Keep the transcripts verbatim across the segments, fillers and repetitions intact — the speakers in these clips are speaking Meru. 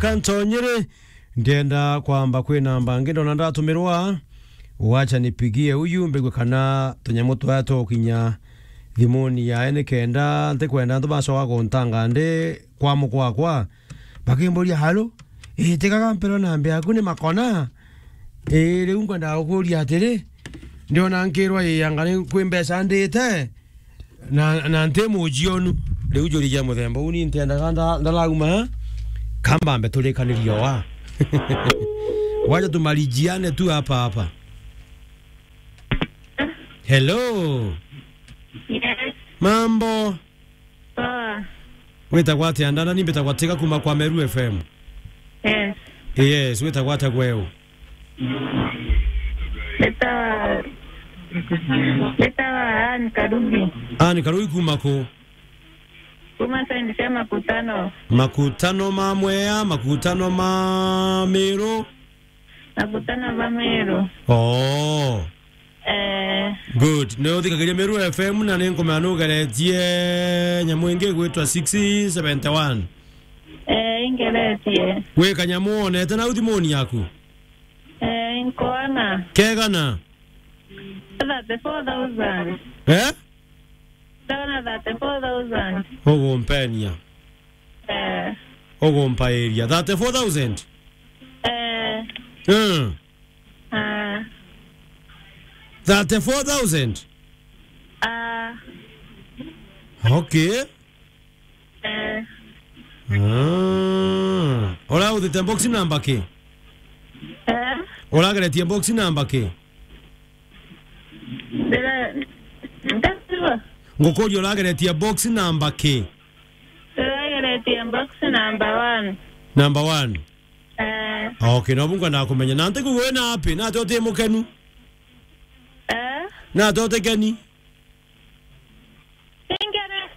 Kantonyere, ndienda kwamba kwi namba ngi ndona ndatumirwa, wacha nipigie uyu mbigue kana tunyamu twaya tukinya thimuni yae, nikenda ntikwenda antu bacoka kuntanga ndi kwa mukwakwa. Bakimburia, "Halo? Ii, tigaga mpero namba yaku ni Makona? Ii, riu ngwenda gukuria atiri, ndiona nkirwa ii anga ni kwi mbeca ndite, na, na nti mujionu." Riu njurigia muthemba uu ni ntiendaga nda-, ndarauma, kambambe turikanirie wa. Wacha tumalijiane tu hapa hapa. Hello. Yes. Mambo? Poa. Witagwa atia? Ndana ni mbitagwa Tiga kuma kwa Meru F M. Yes. Yes, witagwa atia gweu? Mbitagwa, mbitagwa Anne Karugi. Anne Karugi kuma ku? Kuma sendi cia Makutano. Makutano ma Mwea, Makutano ma Miru? Makutano ma Miru. Oh. Eh. Good. Ni uthikagiria Meru F M na ni nkumenya ni ugeretie nyamu ingi igwitwa six seventy one. Eh, ingeretie. Wi kanyamu wonete nau thimuni yaku? Eh, nkoona. Kegana? Thirty-four thousand. Eh? Ndona thirty-four thousand. Ugumpenia. Eh. Ugumpairia. Thirty-four thousand? Eh. Mm. Ah. Thirty-four thousand? Ah. Okay. Eh. Ah. Urautite box number ki? Eh? Urageretie box number ki? Ndira-, ndasiba. Ngukuria urageretie box number ki? Ndirageretie box number one. Number one? Eh. Okay, no bunga nakumenya. Na ntiku wina happy, na ati uti mukenu? Eh? Na ati utikeni? Singere.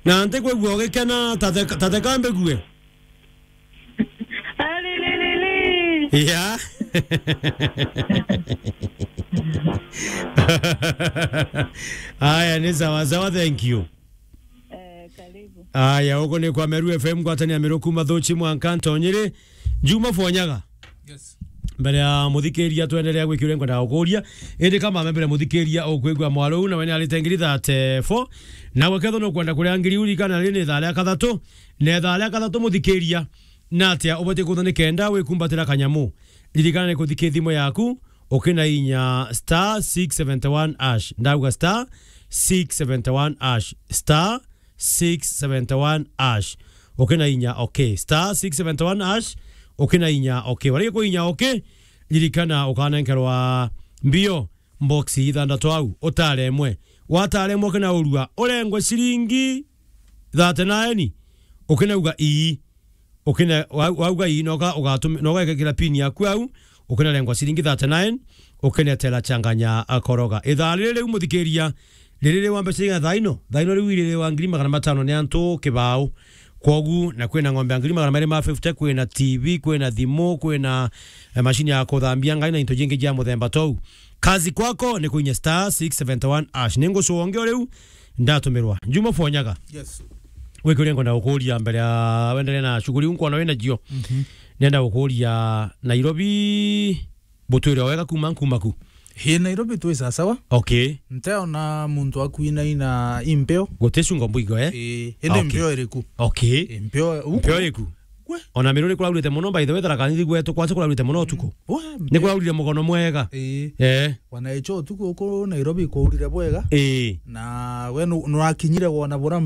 Na ntikwigua ugikena, ta theka, ta theka mbigue. Alililili. Yeah. Aya, ni sawa sawa, thank you. Eh, karibu. Aya, ugu ni kwa Meru F M, ngwatanio ya Meru kuma Thuchi mwanka Ntonyiri. Juma Fonyaga. Yes. Mbere ya muthikiria twenderea gwikiuria, nkwenda gukuria, indi kama mbere muthikiria ukwigua mwaro uu, nawe ni arite ngiri thirty-four, nawe kethwa nukwenda kuria ngiri uu, ririkana riri ni ithaa ria kathatu, na ithaa ria kathatu muthikiria, na atia ubatie kutha ni kenda wikumbatira kanyamu? Ririkana ni kuthikia thimu yaku, ukinainya star six seventy one hash, ndauga star six seventy one hash, star six seventy one hash. Ukina inya okay. Star six seventy one hash. Ukina inya okay. Warege kuinya okay, ririkana ukanenkerwa mbio mboxi ithanthatu au, utare imwe. Watare imwe ukina urua, urengwe ciringi thirty nine, ukinauga ii. Ukine-, wa-, wauga ii, noka ugatumi-, noka ikekira pin yaku au, ukinarengwa ciringi thirty nine, ukinetera changanya akoroga. Ithaa riri riu muthikiria, riri ri wa mbeca cigana thaa ino? Thaa ino riu iri ri wa ngiri magana matano ni antu kibao. Kwogu, na kwina ng'ombe ya ngiri magana meri ma fifty, kwina T V, kwina thimu, kwina, eh, mashini ya kuthambia ngai na into jingi jia muthemba tou. Kazi kwako ni kuinya star six seventy one hash. Ni ngucuonge o riu, ndatumirwa. Juma Fonyaga. Yes. Gwi kiuria nkwenda gukuria mbere ya wendelee na shughuli iu nkwona wina cio. Mhm. Nenda gukuria Nairobi, butwire o wega kuma, kuma ku? Ii, Nairobi twi sasawa. Okay. Nteona muntu akuinaina impeo. Guti cungo mbuigo, eh? Ii, indi okay. Mpeo iriku? Okay. Ii, mpeo, mpeo iriku? Gwe. Ona Miru ni kuraurite muno, by the way, Tharaka Nithi gwetu kwacha kuraurite muno utuku. Ni kuraurire mugono mwega. Ii. Eh. Wanaicho utuku uku Nairobi kwaurire bwega. Ii. Na we nu-, nurakinyire wona bura